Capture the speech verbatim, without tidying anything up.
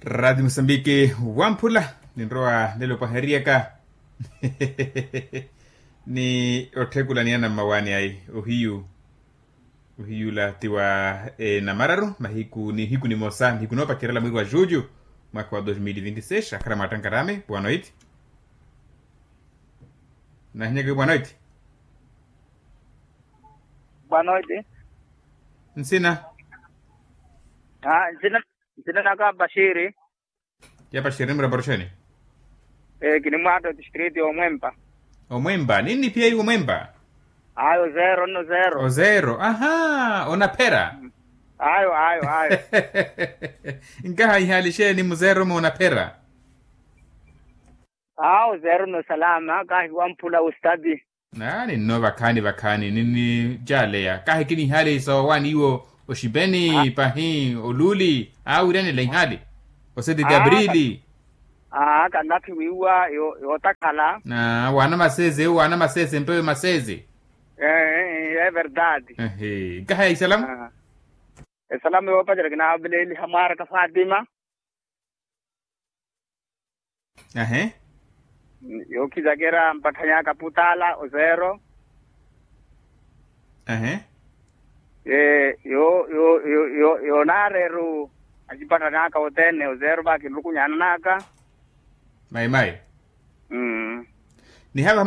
Raati musambiki wamphula, ninrowa nelo paheriyaka ni otthekulani ana mmawaani ayi. Ohiyu ohiyula ti wa enamararu mahiku nihiku nimosa nihiku noopacerela mweri wa julho, mwaka wa dos mil vinti seis akhara mwaattankarami bwanoiti. Nahinyaka bwanoiti. Bwanoiti. Nsina. Nsina naka bashiri. Ya bashiri ni muraparusheni. Kinimwatta otistriti omwempa. Omwempa ninni piyeiwe omwempa. Ayo zero nno zero. Ozero aha onaphera. Ayo ayo ayo. Nkaha ihali xeeni muzero moonaphera. Awo zero nno salama kahi wamphula wustadi. Naani nno vakhaani vakhaani ninni jaaleya kahi kinihali soowani iwo oxipeni pahi oluuli awiranela ihali. Oseti ti aprili. Aa kanlaphi wiiwa yootakhala. Waana masese ewo waana masese mpewe masese. Ee ee everdade. Nkaha ya isalamu. Esalamu yoopacela kinaaveleeliha mwaaraka fatima. Ahe. Yookhizakera mpatthanyaka putaala ozero. Ahe. Ee yo yo yo yo yo naareru acipatthanyaka othene ozero va kinlukunyananaka. Mayi mayi. Nihava